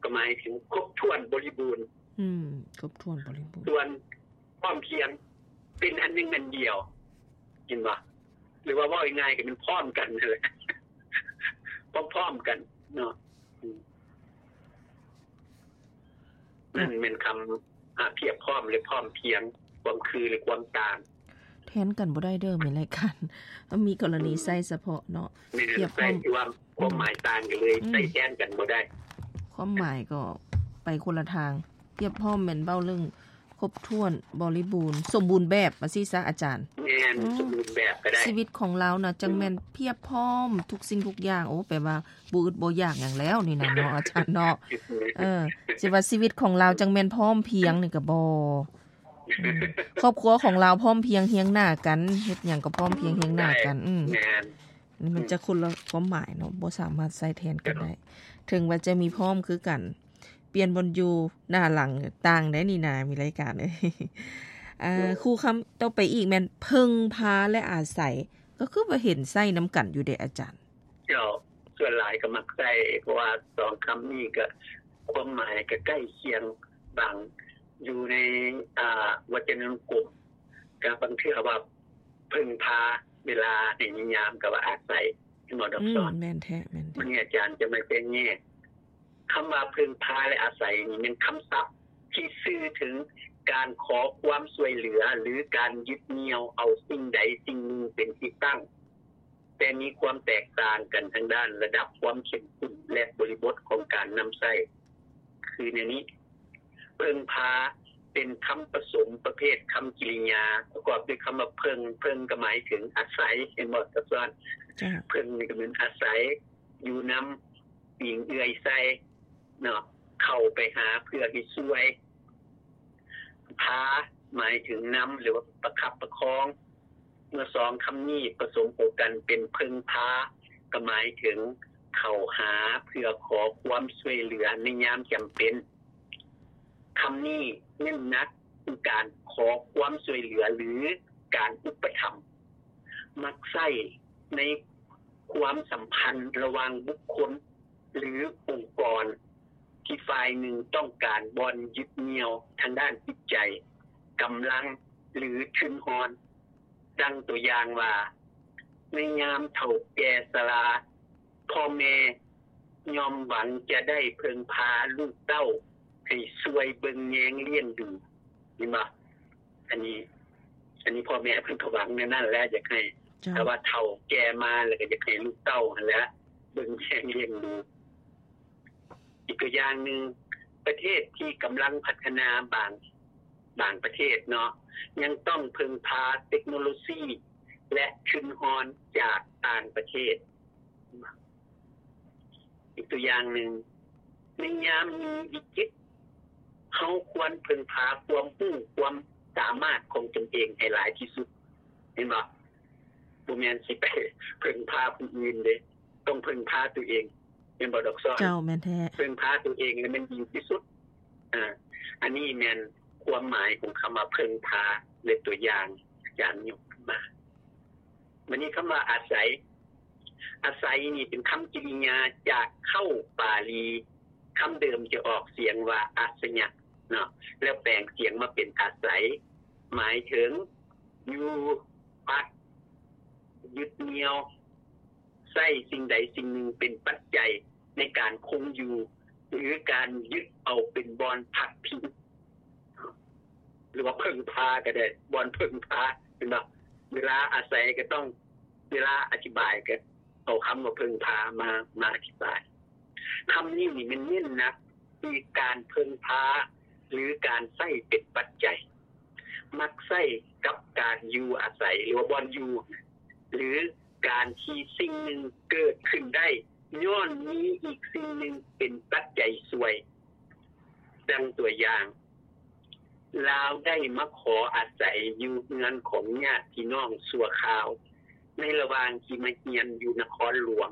ກໍໝາຍເຖິງຄົບຖ້ວນບໍລິບູນ. ອືມ ຄົບຖ້ວນບໍລິບູນ. ສ່ວນພ້ອມພຽງເປັນອັນໜຶ່ງອັນດຽວ ເຫັນບໍ່? ຫຼືວ່າເວົ້າງ່າຍໆ ກໍແມ່ນພ້ອມກັນນັ້ນແຫຼະ ພ້ອມໆກັນເນາະ. ອືມ ນັ້ນແມ່ນຄຳ ອາ ພຽບພ້ອມ ແລະ ພ້ອມພຽງ, ຄວາມຄື ແລະ ຄວາມຕ່າງ. ແທນກັນບໍ່ໄດ້ເດີ ແມ່ນລາຍການ ມີກໍລະນີ ອືມ ໃຊ້ສະເພາະເນາະ. ແມ່ນ ພຽບພ້ອມ ໃຊ້ທີ່ວ່າຄວາມໝາຍຕ່າງກັນເລີຍ ອືມ ໃຊ້ແທນກັນບໍ່ໄດ້. ຄວາມໝາຍກໍໄປຄົນລະທາງ. ພຽບພ້ອມແມ່ນເວົ້າເລື່ອງຄົບຖ້ວນ ບໍລິບູນ ສົມບູນແບບ ວ່າຊີ້ຊະອາຈານ. ແມ່ນ ອືມ ສົມບູນແບບກໍໄດ້. ຊີວິດຂອງລາວນະ ຈັ່ງແມ່ນ ອືມ ພຽບພ້ອມທຸກສິ່ງທຸກຢ່າງ. ໂອ້ ແປວ່າບໍ່ອຶດບໍ່ຢາກຫຍັງແລ້ວນີ້ນະເນາະ ອາຈານເນາະ. ເອີ ຊິວ່າຊີວິດຂອງລາວຈັ່ງແມ່ນພ້ອມພຽງນີ້ກໍບໍ່. ອືມ ຄອບຄົວຂອງລາວພ້ອມພຽງຮຽງໜ້າກັນ ເຮັດຫຍັງກໍພ້ອມພຽງຮຽງໜ້າກັນ. ອືມ ອືມ ແມ່ນ ນີ້ມັນຈະຄົນລະຄວາມໝາຍເນາະ ບໍ່ສາມາດໃຊ້ແທນກັນໄດ້. ເຖິງວ່າຈະມີພ້ອມຄືກັນ ປ່ຽນບ່ອນຢູ່ໜ້າຫຼັງຕ່າງໄດ້ນີ້ນາ ມີລາຍການເອີຍ. ອືມ ຄູ່ຄຳຕໍ່ໄປອີກແມ່ນເພິ່ງພາ ແລະ ອາໄສ ກໍຄືວ່າເຫັນໃຊ້ນຳກັນຢູ່ເດອາຈານ. ເຈົ້າ ສ່ວນຫຼາຍກໍມັກໃຊ້ ເພາະວ່າສອງຄຳນີ້ກໍຄວາມໝາຍກໍໃກ້ຄຽງ ບາງຢູ່ໃນ ອ່າ ວັດຈະນານຸກົມ ກໍບາງເທື່ອວ່າເພິ່ງພາ ເວລາໃຫ້ນິຍາມກໍວ່າອາໄສ ເຫັນບໍ່ ດອກສອນ? ອືມ ແມ່ນແທ້ ແມ່ນແທ້. ມື້ນີ້ອາຈານຈະມາແບ່ງແຍກ ຄຳວ່າເພິ່ງພາ ແລະ ອາໄສນີ້ແມ່ນຄຳສັບທີ່ສື່ເຖິງການຂໍຄວາມຊ່ວຍເຫຼືອ ຫຼື ການຍຶດໜ່ຽວເອົາສິ່ງໃດສິ່ງໜຶ່ງເປັນທີ່ຕັ້ງ. ແຕ່ມີຄວາມແຕກຕ່າງກັນທາງດ້ານລະດັບຄວາມເຂັ້ມຂຸ້ນ ແລະ ບໍລິບົດຂອງການນຳໃຊ້ ຄືແນວນີ້: ເພິ່ງພາ ເປັນຄຳປະສົມປະເພດຄຳກິລິຍາ ປະກອບດ້ວຍຄຳວ່າເພິ່ງ, ເພິ່ງກໍໝາຍເຖິງອາໄສ ເຫັນບໍ່ ດອກສອນ? ເພິ່ງນີ້ກໍແມ່ນອາໄສ, ຢູ່ນຳ, ອີງເອື້ອຍໃສ່ ເນາະ ເຂົ້າໄປຫາເພື່ອໃຫ້ຊ່ວຍ. ພາ ໝາຍເຖິງນຳ ຫຼືວ່າປະຄັບປະຄອງ. ເມື່ອສອງຄຳນີ້ປະສົມເຂົ້າກັນເປັນເພິ່ງພາ ກໍໝາຍເຖິງເຂົ້າຫາເພື່ອຂໍຄວາມຊ່ວຍເຫຼືອໃນຍາມຈຳເປັນ. ຄຳນີ້ເນັ້ນໜັກຄືການຂໍຄວາມຊ່ວຍເຫຼືອ ຫຼື ການອຸປະຖຳ. ມັກໃຊ້ໃນຄວາມສຳພັນລະຫວ່າງບຸກຄົນ ຫຼື ອົງກອນທີ່ຝ່າຍໜຶ່ງຕ້ອງການບ່ອນຍຶດໜ່ຽວທາງດ້ານຈິດໃຈ, ກຳລັງ ຫຼື ທຶນຮອນ. ດັ່ງຕົວຢ່າງວ່າ, ໃນຍາມເຖົ້າແກ່ຊະລາ, ພໍ່ແມ່ຍ່ອມຫວັງຈະໄດ້ເພິ່ງພາລູກເຕົ້າໃຫ້ຊ່ວຍເບິ່ງແຍງລ້ຽງດູ. ເຫັນບໍ່? ອັນນີ້ ອັນນີ້ພໍ່ແມ່ເພິ່ນກໍຫວັງແນວນັ້ນແຫຼະ ຢາກໃຫ້ ເຈົ້າ ຖ້າວ່າເຖົ້າແກ່ມາແລ້ວກໍຢາກໃຫ້ລູກເຕົ້າຫັ້ນແຫຼະເບິ່ງແຍງລ້ຽງດູ. ອີກຕົວຢ່າງໜຶ່ງ, ປະເທດທີ່ກຳລັງພັດທະນາບາງ ບາງປະເທດເນາະ ຍັງຕ້ອງເພິ່ງພາເຕັກໂນໂລຊີ ແລະ ທຶນຮອນຈາກຕ່າງປະເທດ. ອີກຕົວຢ່າງໜຶ່ງ, ໃນຍາມມີວິກິດ, ເຮົາຄວນເພິ່ງພາຄວາມຮູ້ຄວາມສາມາດຂອງຕົນເອງໃຫ້ຫຼາຍທີ່ສຸດ. ເຫັນບໍ່? ບໍ່ແມ່ນຊິໄປເພິ່ງພາຜູ້ອື່ນເດ້, ຕ້ອງເພິ່ງພາຕົວເອງ. ແມ່ນບໍ່ ດອກສອນ? ເຈົ້າ, ແມ່ນແທ້. ເພິ່ງພາຕົວເອງແລ້ວແມ່ນດີທີ່ສຸດ. ອາ ອັນນີ້ແມ່ນຄວາມໝາຍຂອງຄຳວ່າເພິ່ງພາ ແລະ ຕົວຢ່າງອາຈານຍົກຂຶ້ນມາ. ບັດນີ້ຄຳວ່າອາໄສ, ອາໄສນີ້ເປັນຄຳກິລິຍາຈາກເຄົ້າປາລີ, ຄຳເດີມຈະອອກສຽງວ່າອາສະຍະເນາະ ແລ້ວແປງສຽງມາເປັນອາໄສ, ໝາຍເຖິງຢູ່, ພັກ, ຍຶດໜ່ຽວ, ໃຊ້ສິ່ງໃດສິ່ງໜຶ່ງເປັນປັດໄຈໃນການຄົງຢູ່ ຫຼື ການຍຶດເອົາເປັນບ່ອນພັກພິງ ຫຼືວ່າເພິ່ງພາກໍໄດ້, ບ່ອນເພິ່ງພາ ເຫັນບໍ່? ເວລາອາໄສກໍຕ້ອງ, ເວລາອະທິບາຍກໍເອົາຄຳວ່າເພິ່ງພາມາ, ມາອະທິບາຍ. ຄຳນີ້ນີ້ແມ່ນເນັ້ນໜັກທີ່ການເພິ່ງພາ ຫຼື ການໃຊ້ເປັນປັດໄຈ. ມັກໃຊ້ກັບການຢູ່ອາໄສ ຫຼືວ່າບ່ອນຢູ່ ຫຼື ການທີ່ສິ່ງໜຶ່ງເກີດຂຶ້ນໄດ້ຍ້ອນມີອີກສິ່ງໜຶ່ງເປັນປັດໄຈຊ່ວຍ. ດັ່ງຕົວຢ່າງ, ລາວໄດ້ມາຂໍອາໄສຢູ່ເຮືອນຂອງຍາດພີ່ນ້ອງຊົ່ວຄາວ ໃນລະຫວ່າງທີ່ມາຮຽນຢູ່ນະຄອນຫຼວງ.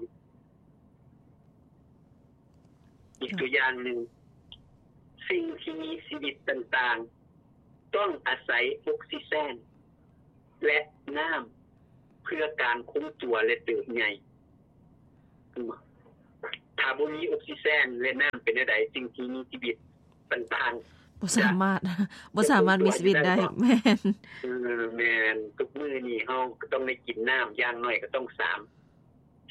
ອີກຕົວຢ່າງໜຶ່ງ, ສິ່ງທີ່ມີຊີວິດຕ່າງໆ ຕ້ອງອາໄສອົກຊີເຈນ ແລະ ນ້ຳ ເພື່ອການຄົງຕົວ ແລະ ເຕີບໃຫຍ່. ເຫັນບໍ່? ທ ຖ້າບໍ່ມີອົກຊີເຈນ ແລະ ນ້ຳ ເປັນແນວໃດ? ສິ່ງທີ່ມີຊີວິດຕ່າງໆ ບໍ່ສາມາດ ບໍ່ສາມາດມີຊີວິດໄດ້. ແມ່ນ ເອີ ແມ່ນ. ທຸກມື້ນີ້ເຮົາກໍຕ້ອງໄດ້ກິນນ້ຳ ຢ່າງໜ້ອຍກໍຕ້ອງສາມ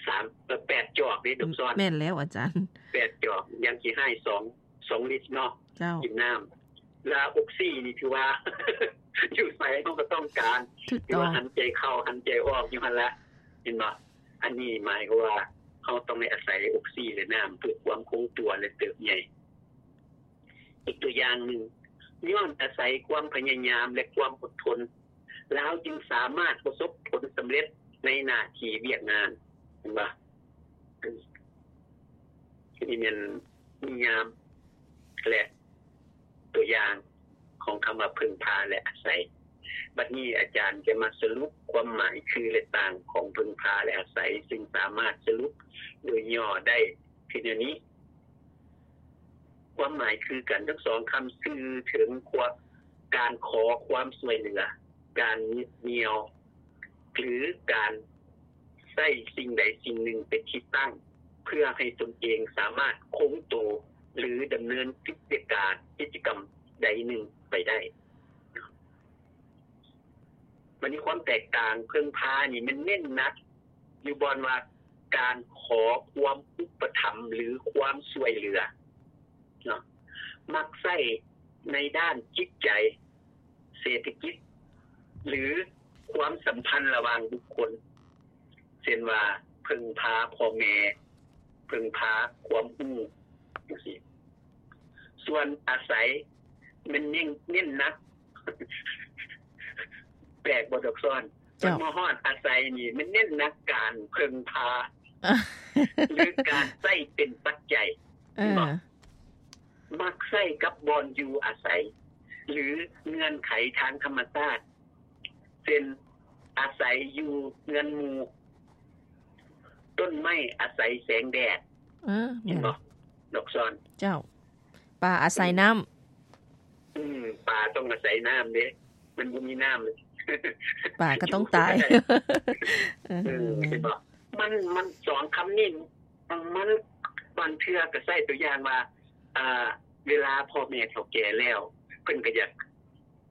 ສາມ ເອີ ແປດຈອກເດ້ ດອກຊອນ. ແມ່ນແລ້ວອາຈານ ແປດຈອກ ຢ່າງຂີ້ຮ້າຍສອງ ສອງລິດເນາະ. ເຈົ້າ ກິນນ້ຳ ແລະ ອົກຊີນີ້ຖືວ່າ ຢູ່ໃສເຮົາກໍຕ້ອງການ ຖືກຕ້ອງ ຖືວ່າຫັນໃຈເຂົ້າ ຫັນໃຈອອກຢູ່ຫັ້ນລະ ເຫັນບໍ່? ອັນນີ້ໝາຍຄວາມວ່າເຮົາຕ້ອງໄດ້ອາໄສອົກຊີ ແລະ ນ້ຳ ເພື່ອຄວາມຄົງຕົວ ແລະ ເຕີບໃຫຍ່. ອີກຕົວຢ່າງໜຶ່ງ, ຍ້ອນອາໄສຄວາມພະຍາຍາມ ແລະ ຄວາມອົດທົນ, ລາວຈຶ່ງສາມາດປະສົບຜົນສຳເລັດໃນໜ້າທີ່ວຽກງານ. ເຫັນບໍ່? ນີ້ແມ່ນນິຍາມ ແລະ ຕົວຢ່າງຂອງຄຳວ່າເພິ່ງພາ ແລະ ອາໄສ. ບັດນີ້ອາຈານຈະມາສະຫຼຸບຄວາມໝາຍຄື ແລະ ຕ່າງຂອງເພິ່ງພາ ແລະ ອາໄສ, ຊຶ່ງສາມາດສະຫຼຸບໂດຍຫຍໍ້ໄດ້ຄືແນວນີ້. ຄວາມໝາຍຄືກັນທັງສອງຄຳ ສື່ເຖິງຄວາມ ການຂໍຄວາມຊ່ວຍເຫຼືອ, ການຍຶດໜ່ຽວ ຫຼື ການໃຊ້ສິ່ງໃດສິ່ງໜຶ່ງເປັນທີ່ຕັ້ງ ເພື່ອໃຫ້ຕົນເອງສາມາດຄົງໂຕ ຫຼື ດຳເນີນກິດຈະການ ກິດຈະກຳໃດໜຶ່ງໄປໄດ້. ບັດນີ້ຄວາມແຕກຕ່າງ ເພິ່ງພານີ້ແມ່ນເນັ້ນໜັກຢູ່ບ່ອນວ່າ ການຂໍຄວາມອຸປະຖຳ ຫຼື ຄວາມຊ່ວຍເຫຼືອເນາະ ມັກໃຊ້ໃນດ້ານຈິດໃຈ, ເສດຖະກິດ ຫຼື ຄວາມສຳພັນລະຫວ່າງບຸກຄົນ ເຊັ່ນວ່າ ເພິ່ງພາພໍ່ແມ່, ເພິ່ງພາຄວາມຮູ້ ຈັ່ງຊີ້. ສ່ວນອາໄສແມ່ນເນັ້ນ ເນັ້ນໜັກ ແປກບໍ່ດອກຊອນ? ເຈົ້າ ມາຮອດອາໄສນີ້ແມ່ນເນັ້ນໜັກການເພິ່ງພາ ຫຼື ການໃຊ້ເປັນປັດໄຈ. ເອີ ເຫັນບໍ່? ມັກໃຊ້ກັບບ່ອນຢູ່ອາໄສ ຫຼື ເງື່ອນໄຂທາງທຳມະຊາດ ເຊັ່ນ ອາໄສຢູ່ເຮືອນໝູ່, ຕົ້ນໄມ້ອາໄສແສງແດດ. ເອີ ເຫັນບໍ່ ແມ່ນ ດອກຊອນ? ເຈົ້າ ປາອາໄສນ້ຳ. ອືມ ປາຕ້ອງອາໄສນ້ຳເດ້ ມັນບໍ່ມີນ້ຳ ປາກໍຕ້ອງຕາຍ. ເອີ ເອີ ເຫັນບໍ່? ມັນ ມັນສອງຄຳນີ້ ມັນບາງເທື່ອກໍໃຊ້ຕົວຢ່າງວ່າ ອ່າ ເວລາພໍ່ແມ່ເຖົ້າແກ່ແລ້ວ ເພິ່ນກໍຢາກ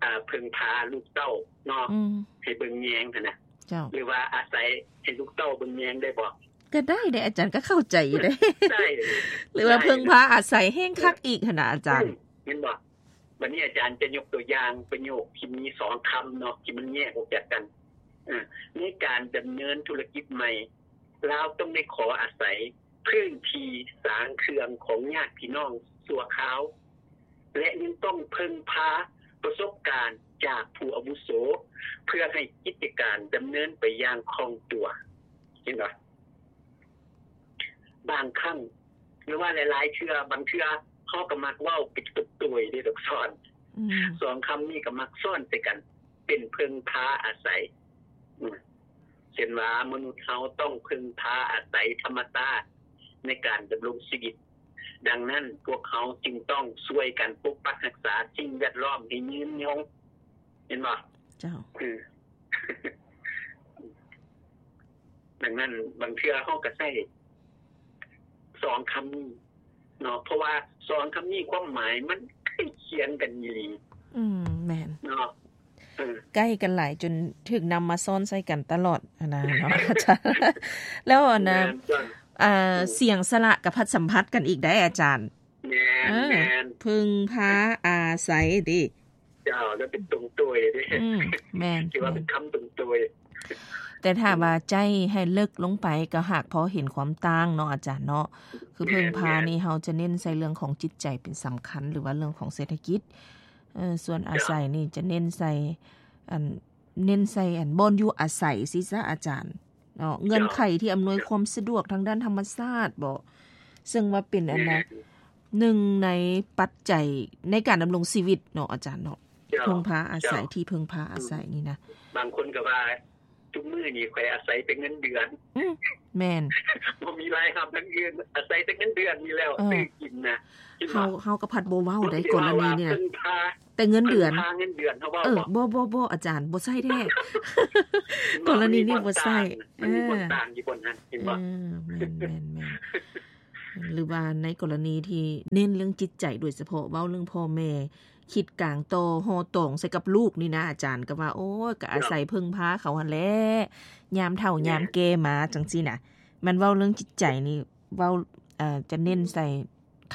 ອ່າ ເພິ່ງພາລູກເຕົ້າເນາະ ອືມ ໃຫ້ເບິ່ງແຍງຫັ້ນນະ. ເຈົ້າ ຫຼືວ່າອາໄສໃຫ້ລູກເຕົ້າເບິ່ງແຍງໄດ້ບໍ່? ກໍໄດ້ເດ້ອາຈານ ກໍເຂົ້າໃຈຢູ່ເດ້. ໃຊ້ ຫຼືວ່າເພິ່ງພາອາໄສແຮງຄັກອີກຫັ້ນນະອາຈານ. ອືມ ແມ່ນບໍ່? ບັດນີ້ອາຈານຈະຍົກຕົວຢ່າງປະໂຫຍກທີ່ມີສອງຄຳເນາະ ທີ່ມັນແຍກອອກຈາກກັນ. ເອີ ໃນການດຳເນີນທຸລະກິດໃໝ່ ລາວຕ້ອງໄດ້ຂໍອາໄສພື້ນທີ່ສາງເຄື່ອງຂອງຍາດພີ່ນ້ອງຊົ່ວຄາວ ແລະ ຍັງຕ້ອງເພິ່ງພາປະສົບການຈາກຜູ້ອາວຸໂສ ເພື່ອໃຫ້ກິດຈະການດຳເນີນໄປຢ່າງຄ່ອງຕົວ. ເຫັນບໍ່? ບາງຄັ້ງ ຫຼືວ່າຫຼາຍໆເທື່ອ ບາງເທື່ອເຮົາກໍມັກເວົ້າເປັນຕົວໂຕຍເດ້ດອກຊອນ. ອືມ ສອງຄຳນີ້ກໍມັກຊ້ອນໃສ່ກັນ ເປັນເພິ່ງພາອາໄສ. ອືມ ເຊັ່ນວ່າ ມະນຸດເຮົາຕ້ອງເພິ່ງພາອາໄສທຳມະຊາດໃນການດຳລົງຊີວິດ. ດັ່ງນັ້ນ ພວກເຮົາຈຶ່ງຕ້ອງຊ່ວຍກັນປົກປັກຮັກສາສິ່ງແວດລ້ອມໃຫ້ຍືນຍົງ. ເຫັນບໍ່? ເຈົ້າ ຄື ດັ່ງນັ້ນ ບາງເທື່ອເຮົາກໍໃຊ້ສອງຄຳນີ້ເນາະ ເພາະວ່າສອງຄຳນີ້ຄວາມໝາຍມັນໃກ້ຄຽງກັນອີ່ຫຼີ. ອືມ ແມ່ນ ເນາະ ເອີ ໃກ້ກັນຫຼາຍຈົນຖືກນຳມາຊ້ອນໃສ່ກັນຕະຫຼອດຫັ້ນນະເນາະອາຈານ. ແລ້ວອັນນະ ແມ່ນ ອ່າ ອືມ ສຽງສະຫຼະກໍພັດສຳພັດກັນອີກໄດ໋ອາຈານ. ແມ່ນ ເອີ ແມ່ນ ເພິ່ງພາອາໄສເດ້. ເຈົ້າ ແລ້ວເປັນຕົງໂຕຍເດ້. ອືມ ແມ່ນ ຖືວ່າເປັນຄຳຕົງໂຕຍ. ແຕ່ຖ້າວ່າໃຈໃຫ້ເລິກລົງໄປ ກໍຫາກພໍເຫັນຄວາມຕ່າງເນາະອາຈານເນາະ. ຄືເພິ່ງພານີ້ ແມ່ນ ເຮົາຈະເນັ້ນໃສ່ເລື່ອງຂອງຈິດໃຈເປັນສຳຄັນ ຫຼືວ່າເລື່ອງຂອງເສດຖະກິດ. ເອີ ສ່ວນອາໄສນີ້ຈະເນັ້ນໃສ່ ອັນ ເນັ້ນໃສ່ ອັນ ບ່ອນຢູ່ອາໄສຊີ້ຊະອາຈານເນາະ. ເງື່ອນໄຂທີ່ອຳນວຍຄວາມສະດວກທາງດ້ານທຳມະຊາດບໍ ເຊິ່ງວ່າເປັນອັນນະ ແມ່ນ ໜຶ່ງໃນປັດໄຈໃນການດຳລົງຊີວິດເນາະອາຈານເນາະ. ເຈົ້າ ເພິ່ງພາອາໄສ ເຈົ້າ ທີ່ເພິ່ງພາອາໄສນີ້ນະ ບາງຄົນກໍວ່າ ທຸກມື້ນີ້ຂ້ອຍອາໄສແຕ່ເງິນເດືອນ. ອືມ ແມ່ນ ບໍ່ມີລາຍຮັບທາງອື່ນ ອາໄສແຕ່ເງິນເດືອນນີ້ແລ້ວ ເອີ ຊື້ກິນນະ. ເຮົາ ເຮົາກໍພັດບໍ່ເວົ້າໄດ໋ ກໍລະນີນີ້ນະ ແຕ່ເງິນເດືອນ ເພິ່ງພາເງິນເດືອນເຮົາເວົ້າ. ເອີ ບໍ່ ບໍ່ ບໍ່ ອາຈານ ບໍ່ໃຊ້ແທ້ ກໍລະນີນີ້ບໍ່ໃຊ້. ມັນມີບ່ອນຕ່າງ ເອີ ມັນມີບ່ອນຕ່າງຢູ່ບ່ອນນັ້ນ ເຫັນບໍ່? ເອີ ແມ່ນ ແມ່ນ ແມ່ນ. ຫຼືວ່າໃນກໍລະນີທີ່ເນັ້ນເລື່ອງຈິດໃຈໂດຍສະເພາະ ເວົ້າເລື່ອງພໍ່ແມ່ ຄິດກາງຕໍ່ ຫໍ່ຕອງໃສ່ກັບລູກນີ້ນະ ອາຈານ ກໍວ່າ ໂອ້ຍ ກໍອາໄສເພິ່ງພາເຂົາຫັ້ນແຫຼະ ຍາມເຖົ້າຍາມແກ່ມາ ຈັ່ງຊີ້ນະ. ແມ່ນເວົ້າເລື່ອງຈິດໃຈນີ້ ເວົ້າ ເອີ ຈະເນັ້ນໃສ່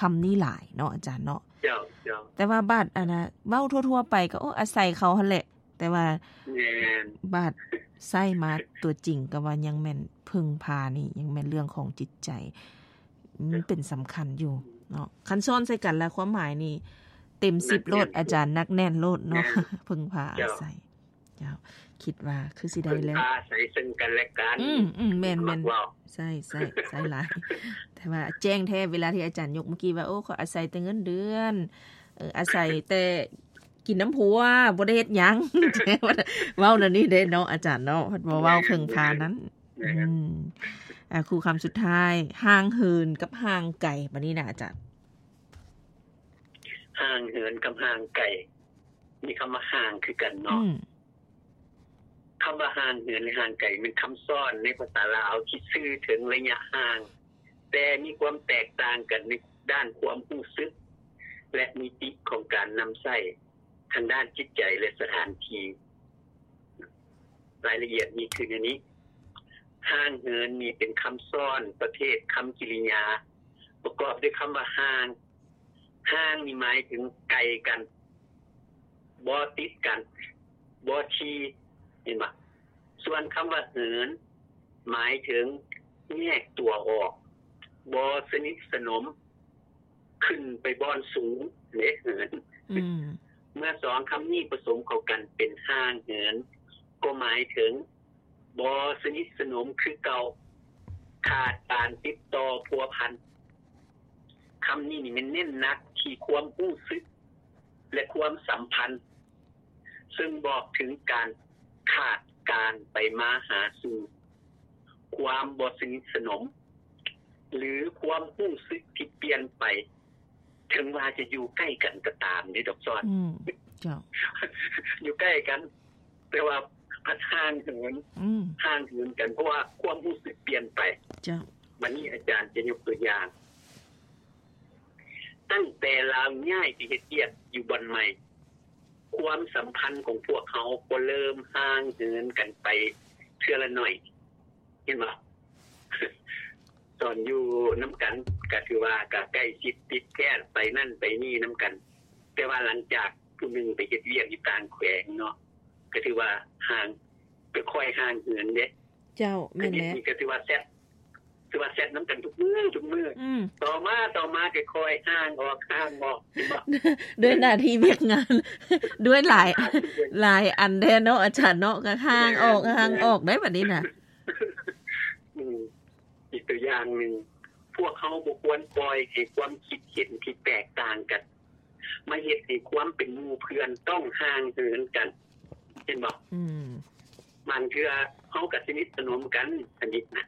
ຄຳນີ້ຫຼາຍເນາະ ອາຈານເນາະ. ເຈົ້າ ເຈົ້າ. ແຕ່ວ່າບາດ ອັນນ່າ ເວົ້າທົ່ວໆໄປກໍ ໂອ້ ອາໄສເຂົາຫັ້ນແຫຼະ ແຕ່ວ່າ ແມ່ນ ບາດໃຊ້ມາຕົວຈິງກໍວ່າຍັງແມ່ນເພິ່ງພານີ້ ຍັງແມ່ນເລື່ອງຂອງຈິດໃຈ ມັນເປັນສຳຄັນຢູ່ເນາະ. ຄັນຊ້ອນໃສ່ກັນແລ້ວ ຄວາມໝາຍນີ້ເຕັມສິບໂລດ ອາຈານ ໜັກແໜ້ນໂລດເນາະ. ເພິ່ງພາອາໄສ. ເຈົ້າ ຄິດວ່າຄືຊິໄດ້ແລ້ວ ເພິ່ງພາອາໄສເຊິ່ງກັນແລະກັນ. ອືມໆ ແມ່ນໆ ໃຊ້ ໃຊ້ ໃຊ້ຫຼາຍ ແຕ່ວ່າແຈ້ງແທ້ ເວລາທີ່ອາຈານຍົກເມື່ອກີ້ວ່າ ໂອ້ ເຂົາອາໄສແຕ່ເງິນເດືອນ ເອີ ອາໄສແຕ່ກິນນຳຜົວ ບໍ່ໄດ້ເຮັດຫຍັງ ເວົ້າແນວນີ້ເດ້ເນາະ ອາຈານເນາະ ເພິ່ນບໍ່ເວົ້າເພິ່ງພານັ້ນ. ແມ່ນ ອືມ ອ່າ ຄູ່ຄຳສຸດທ້າຍ ຫ່າງເຫີນກັບຫ່າງໄກ ບາດນີ້ນະອາຈານ. ຫ່າງເຫີນກັບຫ່າງໄກ ມີຄຳວ່າຫ່າງຄືກັນເນາະ. ອືມ ຄຳວ່າຫ່າງເຫີນ ແລະ ຫ່າງໄກ ແມ່ນຄຳຊ້ອນໃນພາສາລາວທີ່ສື່ເຖິງໄລຍະຫ່າງ ແຕ່ມີຄວາມແຕກຕ່າງກັນໃນດ້ານຄວາມຮູ້ສຶກ ແລະ ມິຕິຂອງການນຳໃຊ້ທາງດ້ານຈິດໃຈ ແລະ ສະຖານທີ່. ລາຍລະອຽດມີຄືແນວນີ້. ຫ່າງເຫີນນີ້ເປັນຄຳຊ້ອນປະເພດຄຳກິລິຍາ ປະກອບດ້ວຍຄຳວ່າຫ່າງ. ຫ່າງນີ້ໝາຍເຖິງໄກກັນ, ບໍ່ຕິດກັນ, ບໍ່ທີ່, ເຫັນບໍ່? ສ່ວນຄຳວ່າເຫີນ ໝາຍເຖິງແຍກຕົວອອກ, ບໍ່ສະໜິດສະໜົມ, ຂຶ້ນໄປບ່ອນສູງເດ້ເຫີນ. ອືມ ເມື່ອສອງຄຳນີ້ປະສົມເຂົ້າກັນເປັນຫ່າງເຫີນ ກໍໝາຍເຖິງບໍ່ສະໜິດສະໜົມຄືເກົ່າ, ຂາດການຕິດຕໍ່ພົວພັນ. ຄຳນີ້ນີ້ແມ່ນເນັ້ນໜັກທີ່ຄວາມຮູ້ສຶກ ແລະ ຄວາມສຳພັນ ເຊິ່ງບອກເຖິງການຂາດການໄປມາຫາສູ່, ຄວາມບໍ່ສະໜິດສະໜົມ ຫຼື ຄວາມຮູ້ສຶກທີ່ປ່ຽນໄປ, ເຖິງວ່າຈະຢູ່ໃກ້ກັນກໍຕາມເດ້ດອກຊອນ. ອືມ ເຈົ້າ ຢູ່ໃກ້ກັນ ແຕ່ວ່າພັດຫ່າງເຫີນ, ອືມ ຫ່າງເຫີນກັນ ເພາະວ່າຄວາມຮູ້ສຶກປ່ຽນໄປ. ເຈົ້າ ບັດນີ້ອາຈານຈະຍົກຕົວຢ່າງ, ຕັ້ງແຕ່ລາວຍ້າຍໄປເຮັດວຽກຢູ່ບ່ອນໃໝ່, ຄວາມສຳພັນຂອງພວກເຮົາກໍເລີ່ມຫ່າງເຫີນກັນໄປເທື່ອລະໜ້ອຍ, ເຫັນບໍ່? ຕອນຢູ່ນຳກັນກໍຖືວ່າກໍໃກ້ຊິດຕິດແທດ ໄປນັ້ນໄປນີ້ນຳກັນ, ແຕ່ວ່າຫຼັງຈາກຜູ້ໜຶ່ງໄປເຮັດວຽກຢູ່ຕ່າງແຂວງເນາະ, ກໍຖືວ່າຫ່າງ, ກໍຄ່ອຍຫ່າງເຫີນເດ້. ເຈົ້າ ແມ່ນແຫຼະ. ນີ້ກໍຖືວ່າແຊັດ, ຖືວ່າແຊັດນຳກັນທຸກມື້, ທຸກມື້. ອືມ ຕໍ່ມາ, ຕໍ່ມາກໍຄ່ອຍຫ່າງອອກ, ຫ່າງອອກ. ດ້ວຍໜ້າທີ່ວຽກງານ, ດ້ວຍຫຼາຍ, ຫຼາຍອັນແທ້ເນາະ ອາຈານເນາະ, ກໍຫ່າງອອກ, ແມ່ນ, ຫ່າງອອກໄດ້ບັດນີ້ນະ. ອືມ ອີກຕົວຢ່າງໜຶ່ງ, ພວກເຮົາບໍ່ຄວນປ່ອຍໃຫ້ຄວາມຄິດເຫັນທີ່ແຕກຕ່າງກັນ ມາເຮັດໃຫ້ຄວາມເປັນໝູ່ເພື່ອນຕ້ອງຫ່າງເຫີນກັນ, ເຫັນບໍ່? ອືມ ບາງເທື່ອເຮົາກໍສະໜິດສະໜົມກັນ, ສະໜິດນະ,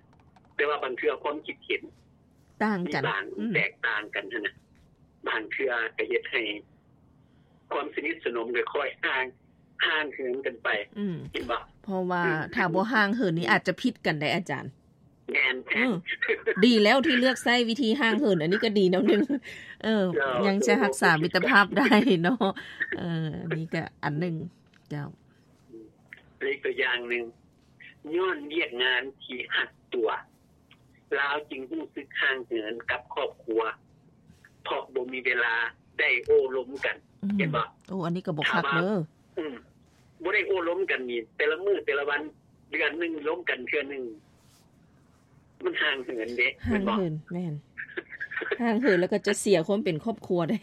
ແຕ່ວ່າບາງເທື່ອຄວາມຄິດເຫັນຕ່າງກັນ, ມີບາງ ອືມ ແຕກຕ່າງກັນຫັ້ນນະ, ບາງເທື່ອກໍເຮັດໃຫ້ຄວາມສະໜິດສະໜົມຄ່ອຍໆຫ່າງ, ຫ່າງເຫີນກັນໄປ, ອືມ ເຫັນບໍ່? ເພາະວ່າ ອືມ ຖ້າບໍ່ຫ່າງເຫີນນີ້ ອືມ ອາດຈະຜິດກັນໄດ້ ອາຈານ. ແມ່ນ ເອີ ດີແລ້ວທີ່ເລືອກໃຊ້ວິທີຫ່າງເຫີນ, ອັນນີ້ກໍດີນຳໜຶ່ງ. ເອີ ເຈົ້າ ຍັງຈະຮັກສາມິດຕະພາບໄດ້ເນາະ. ເອີ ອັນນີ້ກໍອັນໜຶ່ງ. ເຈົ້າ ອີກຕົວຢ່າງໜຶ່ງ, ຍ້ອນວຽກງານທີ່ຮັດຕົວ, ລາວຈຶ່ງຮູ້ສຶກຫ່າງເຫີນກັບຄອບຄົວ ເພາະບໍ່ມີເວລາໄດ້ໂອ້ລົມກັນ. ອືມ ເຫັນບໍ່? ໂອ້ ອັນນີ້ກໍບໍ່ຄັກເດີ. ອືມ ບໍ່ໄດ້ໂອ້ລົມກັນນີ້ ແຕ່ລະມື້ແຕ່ລະວັນ ເດືອນໜຶ່ງລົມກັນເທື່ອໜຶ່ງ, ມັນຫ່າງເຫີນເດ້. ຫ່າງເຫີນ ແມ່ນ ແມ່ນ ຫ່າງເຫີນແລ້ວກໍຈະເສຍຄວາມເປັນຄອບຄົວໄດ້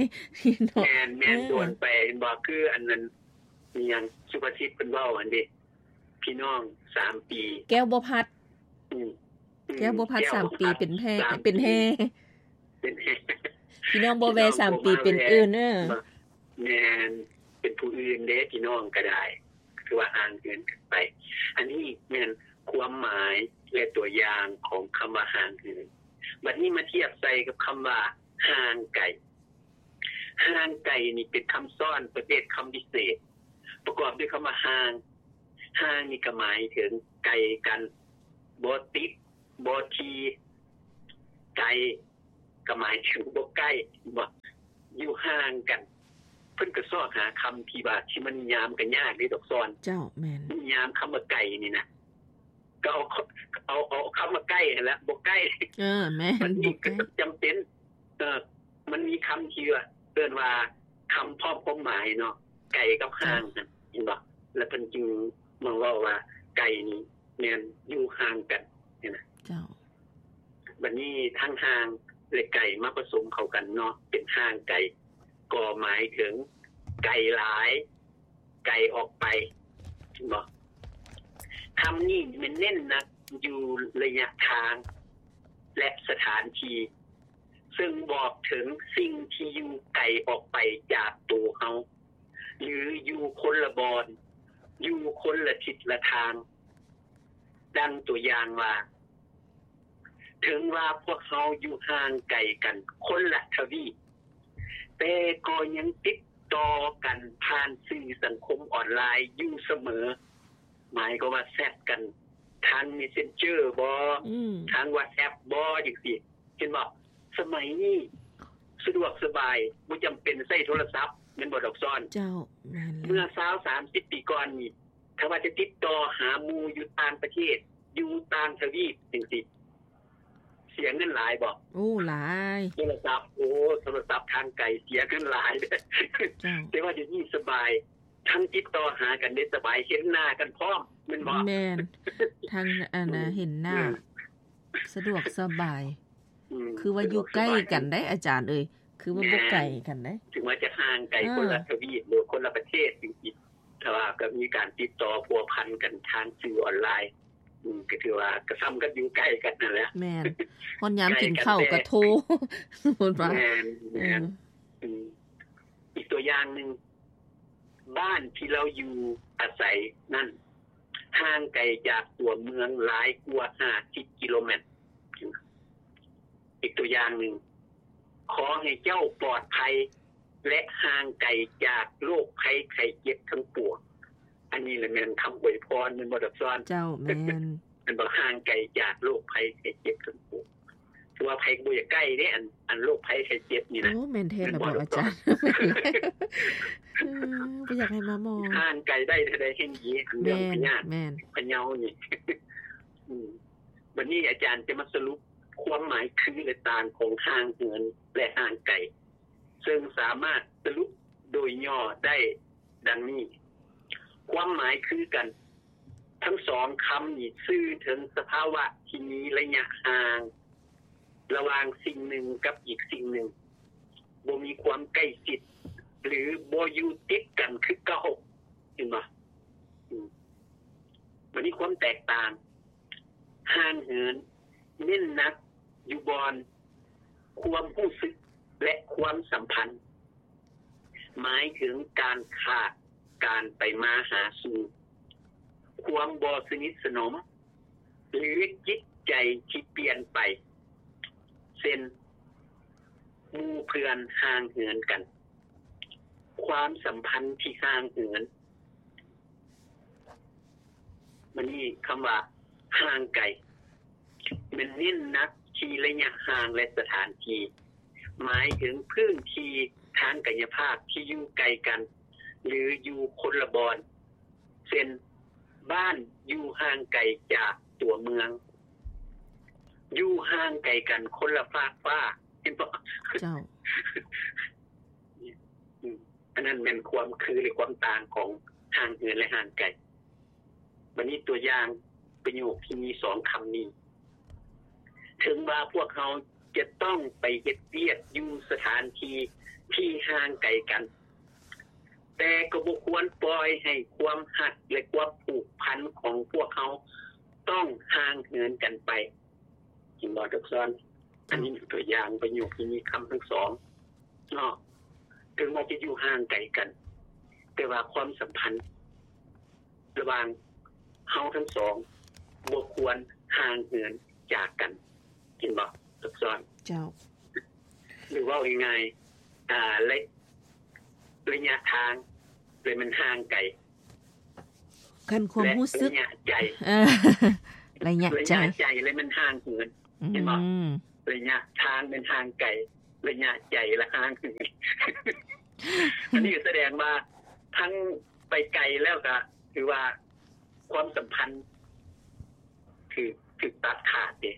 ເນາະ. ແມ່ນໆ ເອີ ໂດນໄປ ເຫັນບໍ່? ຄືອັນນັ້ນ ມີຫຍັງ ສຸພາສິດເພິ່ນເວົ້າຫັ້ນເດ້, ພີ່ນ້ອງສາມປີ ແກ້ວບໍ່ພັດ. ອືມ ອືມ ແກ້ວບໍ່ພັດສາມປີ ແກ້ວບໍ່ພັດ ເປັນແພ ສາມປີ ເປັນແຮ ເປັນແຮ. ພີ່ນ້ອງບໍ່ແວ ພີ່ນ້ອງ ສາມປີ ບໍ່ມາ ເປັນອື່ນເດີ. ແມ່ນ ເປັນຜູ້ອື່ນເດ້ ພີ່ນ້ອງກໍໄດ້, ຄືວ່າຫ່າງເຫີນກັນໄປ. ອັນນີ້ແມ່ນຄວາມໝາຍ ແລະ ຕົວຢ່າງຂອງຄຳວ່າຫ່າງເຫີນ. ບັດນີ້ມາທຽບໃສ່ກັບຄຳວ່າຫ່າງໄກ. ຫ່າງໄກນີ້ເປັນຄຳຊ້ອນປະເພດຄຳພິເສດ ປະກອບດ້ວຍຄຳວ່າຫ່າງ. ຫ່າງນີ້ກໍໝາຍເຖິງໄກກັນ, ບໍ່ຕິດ, ບໍ່ທີ່, ໄກ, ກໍໝາຍເຖິງບໍ່ໃກ້ ບໍ່ ຢູ່ຫ່າງກັນ. ເພິ່ນກໍຊອກຫາຄຳທີ່ວ່າ ທີ່ມັນນິຍາມກໍຍາກເດ້ ດອກຊອນ. ເຈົ້າ ແມ່ນ. ນິຍາມຄຳວ່າໄກນີ້ນະ ກໍເອົາ ເອົາ ເອົາຄຳວ່າໃກ້ຫັ້ນແຫຼະ ບໍ່ໃກ້. ເອີ ແມ່ນ ມັນມີ ບໍ່ໃກ້ ກໍຈຳເປັນ. ເອີ ມັນມີຄຳທີ່ວ່າ ເອີ້ນວ່າຄຳພ້ອມຄວາມໝາຍເນາະ ໄກກັບຫ່າງຫັ້ນ ເຫັນບໍ່? ແລ້ວເພິ່ນຈຶ່ງມາເວົ້າວ່າ ໄກນີ້ແມ່ນຢູ່ຫ່າງກັນ ເຫັນນະ? ເຈົ້າ. ບັດນີ້ທັງຫ່າງ ແລະ ໄກມາປະສົມເຂົ້າກັນເນາະ ເປັນຫ່າງໄກ ກໍໝາຍເຖິງໄກຫຼາຍ ໄກອອກໄປ ເຫັນບໍ່? ຄຳນີ້ແມ່ນເນັ້ນໜັກຢູ່ໄລຍະທາງ ແລະ ສະຖານທີ່ ເຊິ່ງບອກເຖິງສິ່ງທີ່ຢູ່ໄກອອກໄປຈາກໂຕເຮົາ ຫຼື ຢູ່ຄົນລະບ່ອນ ຢູ່ຄົນລະທິດລະທາງ. ດັ່ງຕົວຢ່າງວ່າ ເຖິງວ່າພວກເຮົາຢູ່ຫ່າງໄກກັນຄົນລະທະວີບ ແຕ່ກໍຍັງຕິດຕໍ່ກັນຜ່ານສື່ສັງຄົມອອນລາຍຢູ່ສະເໝີ. ໝາຍຄວາມວ່າແຊັດກັນທາງເມສເຊັນເຈີບໍ ອືມ ທາງວັອດແອັບບໍ ຈັ່ງຊີ້ ເຫັນບໍ່? ສະໄໝນີ້ສະດວກສະບາຍ ບໍ່ຈຳເປັນໃຊ້ໂທລະສັບ ແມ່ນບໍ່ ດອກຊອນ? ເຈົ້າ ແມ່ນແລ້ວ. ເມື່ອຊາວ ສາມສິບປີກ່ອນນີ້ ຖ້າວ່າຈະຕິດຕໍ່ຫາໝູ່ຢູ່ຕ່າງປະເທດ ຢູ່ຕ່າງທະວີບຈັ່ງຊີ້ ເສຍເງິນຫຼາຍບໍ່? ໂອ້ ຫຼາຍ. ໂທລະສັບ ໂອ້ ໂທລະສັບທາງໄກເສຍເງິນຫຼາຍ. ເຈົ້າ. ແຕ່ວ່າດຽວນີ້ສະບາຍ ທັງຕິດຕໍ່ຫາກັນໄດ້ສະບາຍ ເຫັນໜ້າກັນພ້ອມ ແມ່ນບໍ່? ແມ່ນ ທັງອັນນະ ເຫັນໜ້າ ອືມ ສະດວກສະບາຍ. ອືມ ຄືວ່າຢູ່ໃກ້ກັນໄດ໋ອາຈານເອີຍ ຄືວ່າບໍ່ໄກກັນໄດ໋. ເຖິງວ່າຈະຫ່າງໄກ ເອີ ຄົນລະທະວີບ ຫຼື ຄົນລະປະເທດ ຈັ່ງຊີ້ ແຕ່ວ່າກໍມີການຕິດຕໍ່ພົວພັນກັນທາງສື່ອອນລາຍ ອືມ ກໍຖືວ່າກໍສ່ຳກັບຢູ່ໃກ້ກັນນັ້ນແຫຼະ. ແມ່ນ. ຮອດຍາມກິນເຂົ້າກໍໂທ ສົມມຸດວ່າ ແມ່ນ ແມ່ນ. ເອີ ອືມ ອີກຕົວຢ່າງໜຶ່ງ ບ້ານທີ່ເຮົາຢູ່ອາໄສນັ້ນ ຫ່າງໄກຈາກຕົວເມືອງຫຼາຍກວ່າຫ້າສິບກິໂລແມັດ. ອີກຕົວຢ່າງໜຶ່ງ ຂໍໃຫ້ເຈົ້າປອດໄພ ແລະ ຫ່າງໄກຈາກໂລກໄພໄຂ້ເຈັບທັງປວງ. ອັນນີ້ລະແມ່ນຄຳອວຍພອນ ແມ່ນບໍ່ ດອກຊອນ? ເຈົ້າ ແມ່ນ. ແມ່ນບໍ່? ຫ່າງໄກຈາກໂລກໄພໄຂ້ເຈັບທັງປວງ. ຄືວ່າໃຜກໍບໍ່ຢາກໃກ້ເດ້ ອັນ ອັນໂລກໄພໄຂ້ເຈັບນີ້ນະ. ໂອ້ ແມ່ນແທ້ລະບໍ່ອາຈານ? ເອີ ບໍ່ຢາກໃຫ້ມາໝໍ. ຫ່າງໄກໄດ້ເທົ່າໃດແຮ່ງດີ ອັນເລື່ອງພະຍາດ ແມ່ນ ພະເຍົານີ້. ອືມ ບັດນີ້ອາຈານຈະມາສະຫຼຸບຄວາມໝາຍຄື ແລະ ຕ່າງຂອງຫ່າງເຫີນ ແລະ ຫ່າງໄກ ເຊິ່ງສາມາດສະຫຼຸບໂດຍຫຍໍ້ໄດ້ດັ່ງນີ້. ຄວາມໝາຍຄືກັນ ທັງສອງຄຳນີ້ສື່ເຖິງສະພາວະທີ່ມີໄລຍະຫ່າງລະຫວ່າງສິ່ງໜຶ່ງກັບອີກສິ່ງໜຶ່ງ, ບໍ່ມີຄວາມໃກ້ຊິດ ຫຼື ບໍ່ຢູ່ຕິດກັນຄືເກົ່າ. ເຫັນບໍ່? ອືມ ບັດນີ້ຄວາມແຕກຕ່າງ, ຫ່າງເຫີນເນັ້ນໜັກຢູ່ບ່ອນຄວາມຮູ້ສຶກ ແລະ ຄວາມສຳພັນ ໝາຍເຖິງການຂາດການໄປມາຫາສູ່, ຄວາມບໍ່ສະໜິດສະໜົມ ຫຼື ຈິດໃຈທີ່ປ່ຽນໄປ ເຊັ່ນ ໝູ່ເພື່ອນຫ່າງເຫີນກັນ, ຄວາມສຳພັນທີ່ຫ່າງເຫີນ. ບັດນີ້ຄຳວ່າຫ່າງໄກ ແມ່ນເນັ້ນໜັກທີ່ໄລຍະຫ່າງ ແລະ ສະຖານທີ່ ໝາຍເຖິງພື້ນທີ່ທາງກາຍະພາບທີ່ຢູ່ໄກກັນ ຫຼື ຢູ່ຄົນລະບ່ອນ ເຊັ່ນ ບ້ານຢູ່ຫ່າງໄກຈາກຕົວເມືອງ, ຢູ່ຫ່າງໄກກັນຄົນລະຟາກຟ້າ. ເຫັນບໍ່? ເຈົ້າ. ອືມ ອັນນັ້ນແມ່ນຄວາມຄື ຫຼື ຄວາມຕ່າງຂອງຫ່າງເຫີນ ແລະ ຫ່າງໄກ. ບັດນີ້ຕົວຢ່າງປະໂຫຍກທີ່ມີສອງຄຳນີ້, ເຖິງວ່າພວກເຮົາຈະຕ້ອງໄປເຮັດວຽກຢູ່ສະຖານທີ່ທີ່ຫ່າງໄກກັນ, ແຕ່ກໍບໍ່ຄວນປ່ອຍໃຫ້ຄວາມຮັກ ແລະ ຄວາມຜູກພັນຂອງພວກເຮົາຕ້ອງຫ່າງເຫີນກັນໄປ. ເຫັນບໍ່ ດອກຊອນ? ອັນນີ້ຕົວຢ່າງປະໂຫຍກທີ່ມີຄຳທັງສອງເນາະ, ເຖິງວ່າຈະຢູ່ຫ່າງໄກກັນ, ແຕ່ວ່າຄວາມສຳພັນລະຫວ່າງເຮົາທັງສອງບໍ່ຄວນຫ່າງເຫີນຈາກກັນ. ເຫັນບໍ່ ດອກຊອນ? ເຈົ້າ. ຫຼື ເວົ້າງ່າຍໆ ອາ ໄລ ໄລຍະທາງ ແລະ ມັນຫ່າງໄກ. ຄັນຄວາມຮູ້ສຶກ ໄລຍະໃຈ ເອີ ໄລຍະໃຈ ໄລຍະໃຈ ແລະ ມັນຫ່າງເຫີນ. ອືມ ເຫັນບໍ່? ໄລຍະທາງແມ່ນຫ່າງໄກ, ໄລຍະໃຈລະຫ່າງເຫີນ. ອັນນີ້ສະແດງວ່າທັງໄປໄກແລ້ວກະຖືວ່າຄວາມສຳພັນຖືກ ຖືກຕັດຂາດເດ້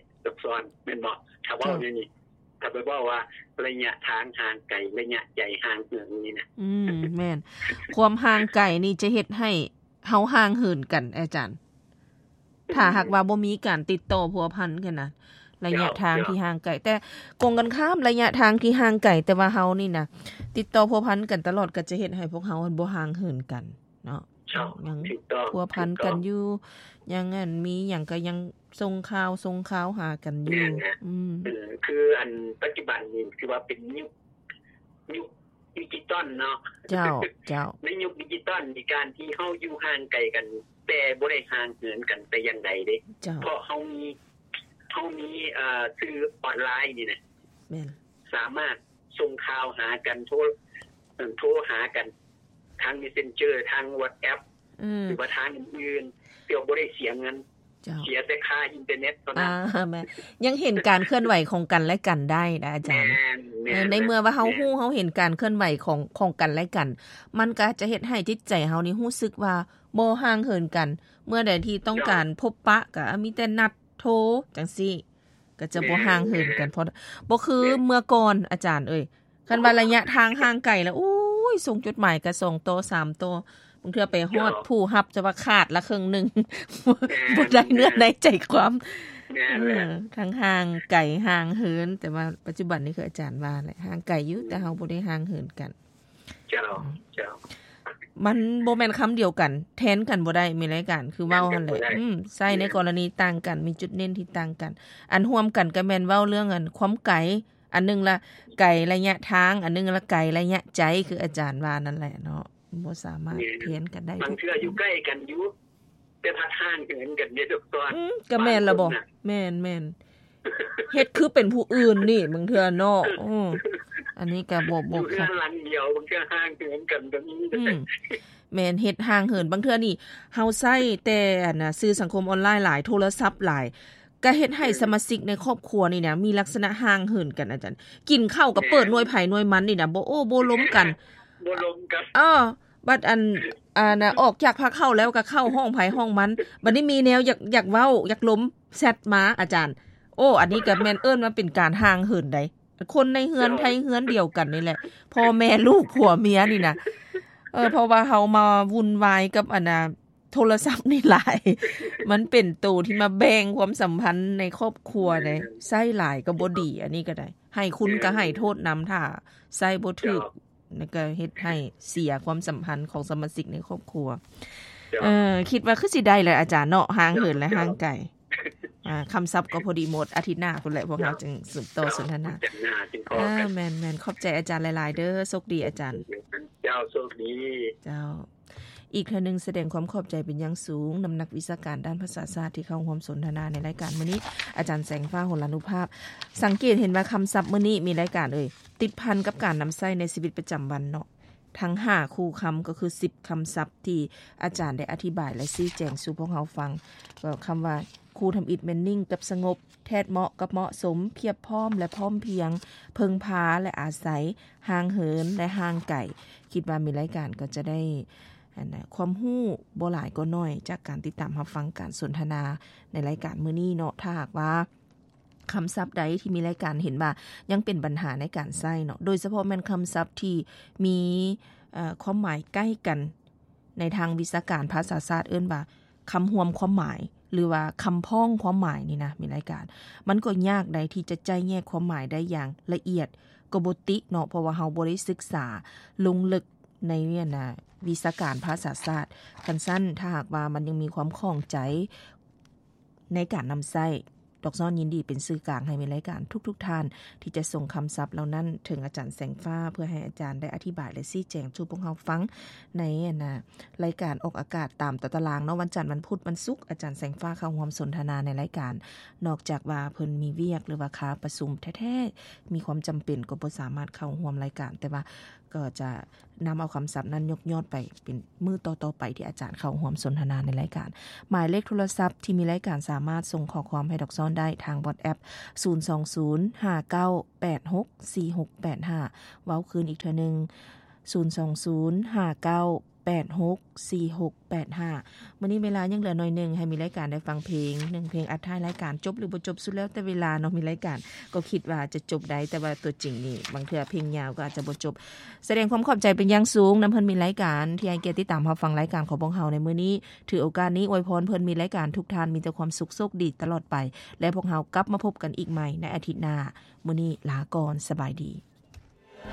ສອນ ແມ່ນບໍ່? ຖ້າເວົ້າແນວນີ້ ຖ້າໄປເວົ້າວ່າໄລຍະທາງຫ່າງໄກ ໄລຍະໃຈຫ່າງເຫີນນີ້ນະ. ອືມ ແມ່ນ. ຄວາມຫ່າງໄກນີ້ຈະເຮັດໃຫ້ເຮົາຫ່າງເຫີນກັນ ອາຈານ. ຖ້າຫາກວ່າບໍ່ມີການຕິດຕໍ່ພົວພັນກັນນະ ໄລຍະທາງທີ່ຫ່າງໄກ. ແຕ່ກົງກັນຂ້າມ ໄລຍະທາງທີ່ຫ່າງໄກ ແຕ່ວ່າເຮົານີ້ນະ ຕິດຕໍ່ພົວພັນກັນຕະຫຼອດ ກໍຈະເຮັດໃຫ້ພວກເຮົາບໍ່ຫ່າງເຫີນກັນເນາະ. ຍັງພົວພັນກັນຢູ່ ຍັງ ອັນ ມີຫຍັງກໍຍັງສົ່ງຂ່າວ ສົ່ງຂ່າວຫາກັນຢູ່. ອືມ ເອີ ຄື ອັນ ປັດຈຸບັນນີ້ຖືວ່າເປັນຍຸກ ຍຸກດິຈິຕອນເນາະ. ເຈົ້າ ເຈົ້າ. ໃນຍຸກດິຈິຕອນນີ້ ການທີ່ເຮົາຢູ່ຫ່າງໄກກັນ ແຕ່ບໍ່ໄດ້ຫ່າງເຫີນກັນແຕ່ຢ່າງໃດເດ້. ເຈົ້າ. ເພາະເຮົາມີ ເຮົາມີ ເອີ ສື່ອອນລາຍນີ້ນະ. ແມ່ນ. ສາມາດສົ່ງຂ່າວຫາກັນ ໂທ ເອີ ໂທຫາກັນທາງ Messenger ທາງ WhatsApp ອືມ ຫຼືວ່າທາງອື່ນໆ ເພື່ອບໍ່ໄດ້ເສຍເງິນ. ເຈົ້າ. ເສຍແຕ່ຄ່າອິນເຕີເນັດເທົ່ານັ້ນ. ອ່າ ແມ່ນ. ຍັງເຫັນການເຄື່ອນໄຫວຂອງກັນແລະກັນໄດ້ນະ ອາຈານ. ແມ່ນ ແມ່ນ. ເອີ ໃນເມື່ອວ່າເຮົາຮູ້ ເຮົາເຫັນການເຄື່ອນໄຫວຂອງ ຂອງກັນແລະກັນ ມັນກໍຈະເຮັດໃຫ້ຈິດໃຈເຮົານີ້ຮູ້ສຶກວ່າບໍ່ຫ່າງເຫີນກັນ. ເມື່ອໃດທີ່ຕ້ອງການ ເຈົ້າ ພົບປະ ກໍມີແຕ່ນັດໂທຈັ່ງຊີ້ ກໍຈະບໍ່ ແມ່ນ ຫ່າງເຫີນກັນ. ແມ່ນ. ເພາະບໍ່ຄື ແມ່ນ ເມື່ອກ່ອນ ອາຈານເອີຍ. ຄັນວ່າໄລຍະທາງຫ່າງໄກລະ ໂອ້ຍ ສົ່ງຈົດໝາຍກະສອງຕໍ່ສາມຕໍ່ ບາງເທື່ອໄປຮອດ ເຈົ້າ ຜູ້ຮັບຈະວ່າຂາດລະເຄິ່ງໜຶ່ງ ແມ່ນ ບໍ່ໄດ້ເນື້ອໃນໃຈຄວາມ. ແມ່ນແຫຼະ. ເອີ ທັງຫ່າງໄກຫ່າງເຫີນ ແຕ່ວ່າປັດຈຸບັນນີ້ຄືອາຈານວ່າແຫຼະ ຫ່າງໄກຢູ່ ແຕ່ເຮົາບໍ່ໄດ້ຫ່າງເຫີນກັນ. ເຈົ້າ ເຈົ້າ. ມັນບໍ່ແມ່ນຄຳດຽວກັນ ແທນກັນບໍ່ໄດ້ ມີລາຍການ ຄືເວົ້າຫັ້ນແຫຼະ. ອືມ ໃຊ້ໃນກໍລະນີຕ່າງກັນ ມີຈຸດເນັ້ນທີ່ຕ່າງກັນ. ອັນຮ່ວມກັນກໍແມ່ນເວົ້າເລື່ອງ ອັນ ຄວາມໄກ ອັນໜຶ່ງລະໄກໄລຍະທາງ ອັນໜຶ່ງລະໄກໄລຍະໃຈ ຄືອາຈານວ່ານັ້ນແຫຼະເນາະ ບໍ່ສາມາດ ແມ່ນ ແທນກັນໄດ້. ບາງເທື່ອຢູ່ໃກ້ກັນຢູ່ ແຕ່ພັດຫ່າງເຫີນກັນເດ້ ທຸກຕອນ. ອືມ ກໍແມ່ນລະບໍ? ບາງຄົນນະ ແມ່ນໆ ເຮັດຄືເປັນຜູ້ອື່ນນີ້ ບາງເທື່ອເນາະ. ເອີ ອັນນີ້ກໍບໍ່ ບໍ່ ຢູ່ເຮືອນຫຼັງດຽວ ບາງເທື່ອຫ່າງເຫີນກັນກໍມີ. ອືມ ແມ່ນ ເຮັດຫ່າງເຫີນ. ບາງເທື່ອນີ້ເຮົາໃຊ້ແຕ່ ອັນນະ ສື່ສັງຄົມອອນລາຍຫຼາຍ ໂທລະສັບຫຼາຍ ກໍເຮັດໃຫ້ ແມ່ນ ສະມາຊິກໃນຄອບຄົວນີ້ນະ ມີລັກສະນະຫ່າງເຫີນກັນ ອາຈານ. ກິນເຂົ້າກໍເປີດ ແມ່ນ ໜ່ວຍໃຜໜ່ວຍມັນນີ້ນະ ບໍ່ໂອ້ບໍ່ລົມກັນ ບໍ່ລົມກັນ. ເອີ ບັດອັນ ອັນນະ ອອກຈາກພາເຂົ້າແລ້ວກໍເຂົ້າຫ້ອງໃຜຫ້ອງມັນ. ບັດນີ້ມີແນວຢາກ ຢາກເວົ້າ ຢາກລົມ ແຊັດມາ ອາຈານ. ໂອ້ ອັນນີ້ກໍແມ່ນເອີ້ນວ່າເປັນການຫ່າງເຫີນໃດ໋. ຄົນໃນເຮືອນ ເຈົ້າ ໃນເຮືອນດຽວກັນນີ້ແຫຼະ ພໍ່ແມ່ລູກຜົວເມຍນີ້ນະ. ເອີ ເພາະວ່າເຮົາມາວຸ່ນວາຍກັບ ອັນນະ ໂທລະສັບນີ້ຫຼາຍ ມັນເປັນໂຕທີ່ມາແບ່ງຄວາມສຳພັນໃນຄອບຄົວເດ້. ແມ່ນ. ໃຊ້ຫຼາຍກໍບໍ່ດີ ອັນນີ້ກໍໄດ້ ໃຫ້ຄຸນກໍໃຫ້ໂທດນຳ ຖ້າໃຊ້ບໍ່ຖືກ ເຈົ້າ ແລ້ວກໍເຮັດໃຫ້ເສຍຄວາມສຳພັນຂອງສະມາຊິກໃນຄອບຄົວ. ເຈົ້າ. ເອີ ຄິດວ່າຄືຊິໄດ້ແຫຼະອາຈານເນາະ ຫ່າງເຫີນ ເຈົ້າ ແລະ ເຈົ້າ ຫ່າງໄກ. ອ່າ ຄຳສັບກໍພໍດີໝົດ ອາທິດໜ້າພຸ້ນແຫຼະ ພວກເຮົາ ເຈົ້າ ຈຶ່ງສືບຕໍ່ສົນທະນາ. ອາ ແມ່ນໆ ຂອບໃຈອາຈານຫຼາຍໆເດີ ໂຊກດີອາຈານ. ເຈົ້າ ໂຊກດີ. ເຈົ້າ. ອີກເທື່ອໜຶ່ງສະແດງຄວາມຂອບໃຈເປັນຢ່າງສູງນຳນັກວິຊາການດ້ານພາສາຊາດທີ່ເຂົ້າຮ່ວມສົນທະນາໃນລາຍການມື້ນີ້ ອາຈານແສງຟ້າ ໂຫລານຸພາບ. ສັງເກດເຫັນວ່າຄຳສັບມື້ນີ້ ມີລາຍການເອີຍ ຕິດພັນກັບການນຳໃຊ້ໃນຊີວິດປະຈຳວັນເນາະ ທັງຫ້າຄູ່ຄຳ ກໍຄືສິບຄຳສັບທີ່ອາຈານໄດ້ອະທິບາຍ ແລະ ຊີ້ແຈງສູ່ພວກເຮົາຟັງ. ກໍຄຳວ່າ ຄູ່ທຳອິດແມ່ນນິ່ງກັບສະຫງົບ, ແທດເໝາະກັບເໝາະສົມ, ພຽບພ້ອມ ແລະ ພ້ອມພຽງ, ເພິ່ງພາ ແລະ ອາໄສ, ຫ່າງເຫີນ ແລະ ຫ່າງໄກ. ຄິດວ່າມີລາຍການກໍຈະໄດ້ ອັນນະ ຄວາມຮູ້ບໍ່ຫຼາຍກໍໜ້ອຍ ຈາກການຕິດຕາມຮັບຟັງການສົນທະນາໃນລາຍການມື້ນີ້ເນາະ. ຖ້າຫາກວ່າຄຳສັບໃດທີ່ມີລາຍການເຫັນວ່າຍັງເປັນບັນຫາໃນການໃຊ້ເນາະ ໂດຍສະເພາະແມ່ນຄຳສັບທີ່ມີ ເອີ ຄວາມໝາຍໃກ້ກັນ ໃນທາງວິຊາການພາສາຊາດເອີ້ນວ່າ ຄຳຮວມຄວາມໝາຍ ຫຼືວ່າຄຳພ້ອງຄວາມໝາຍນີ້ນະ ມີລາຍການ ມັນກໍຍາກໃດທີ່ຈະໄຈ້ແຍກຄວາມໝາຍໄດ້ຢ່າງລະອຽດ ກໍບໍ່ຕິເນາະ ເພາະວ່າເຮົາບໍ່ໄດ້ສຶກສາລົງເລິກໃນ ອັນນະ ວິຊາການພາສາຊາດ. ຄັນຊັ້ນ ຖ້າຫາກວ່າມັນຍັງມີຄວາມຂ້ອງໃຈໃນການນຳໃຊ້ ດອກຊ້ອນຍິນດີເປັນສື່ກາງໃຫ້ແມ່ນລາຍການທຸກໆທ່ານ ທີ່ຈະສົ່ງຄຳສັບເຫຼົ່ານັ້ນເຖິງອາຈານແສງຟ້າ ເພື່ອໃຫ້ອາຈານໄດ້ອະທິບາຍ ແລະ ຊີ້ແຈງສູ່ພວກເຮົາຟັງ ໃນ ອັນນະ ລາຍການອອກອາກາດຕາມຕາຕະລາງເນາະ ວັນຈັນ, ວັນພຸດ, ວັນສຸກ ອາຈານແສງຟ້າເຂົ້າຮ່ວມສົນທະນາໃນລາຍການ. ນອກຈາກວ່າເພິ່ນມີວຽກ ຫຼືວ່າຄາປະຊຸມແທ້ໆ ມີຄວາມຈຳເປັນກໍບໍ່ສາມາດເຂົ້າຮ່ວມລາຍການ, ແຕ່ວ່າ ກໍຈະນຳເອົາຄຳສັບນັ້ນຍົກຍອດໄປເປັນມື້ຕໍ່ໆໄປ ທີ່ອາຈານເຂົ້າຮ່ວມສົນທະນາໃນລາຍການ. ໝາຍເລກໂທລະສັບທີ່ມີລາຍການສາມາດສົ່ງຂໍ້ຄວາມໃຫ້ດອກຊ້ອນໄດ້ທາງ WhatsApp ສູນສອງສູນ ຫ້າເກົ້າ ແປດຫົກ ສີ່ຫົກແປດຫ້າ. ເວົ້າຄືນອີກເທື່ອໜຶ່ງ ສູນສອງສູນ ຫ້າເກົ້າ ແປດຫົກ ສີ່ຫົກແປດຫ້າ. ມື້ນີ້ເວລາຍັງເຫຼືອໜ້ອຍໜຶ່ງ ໃຫ້ມີລາຍການໄດ້ຟັງເພງ ໜຶ່ງເພງ. ອັດທ້າຍລາຍການຈົບຫຼືບໍ່ຈົບ ສຸດແລ້ວແຕ່ເວລາເນາະ. ມີລາຍການກໍຄິດວ່າຈະຈົບໄດ້ ແຕ່ວ່າຕົວຈິງນີ້ ບາງເທື່ອເພງຍາວກໍອາດຈະບໍ່ຈົບ. ສະແດງຄວາມຂອບໃຈເປັນຢ່າງສູງນຳເພິ່ນມີລາຍການ ທີ່ໃຫ້ກຽດຕິດຕາມຮັບຟັງລາຍການຂອງພວກເຮົາໃນມື້ນີ້. ຖືໂອກາດນີ້ອວຍພອນເພິ່ນມີລາຍການທຸກທ່ານມີແຕ່ຄວາມສຸກໂຊກດີຕະຫຼອດໄປ ແລະ ພວກເຮົາກັບມາພົບກັນອີກໃໝ່ໃນອາທິດໜ້າ. ມື້ນີ້ລາກ່ອນ, ສະບາຍດີ.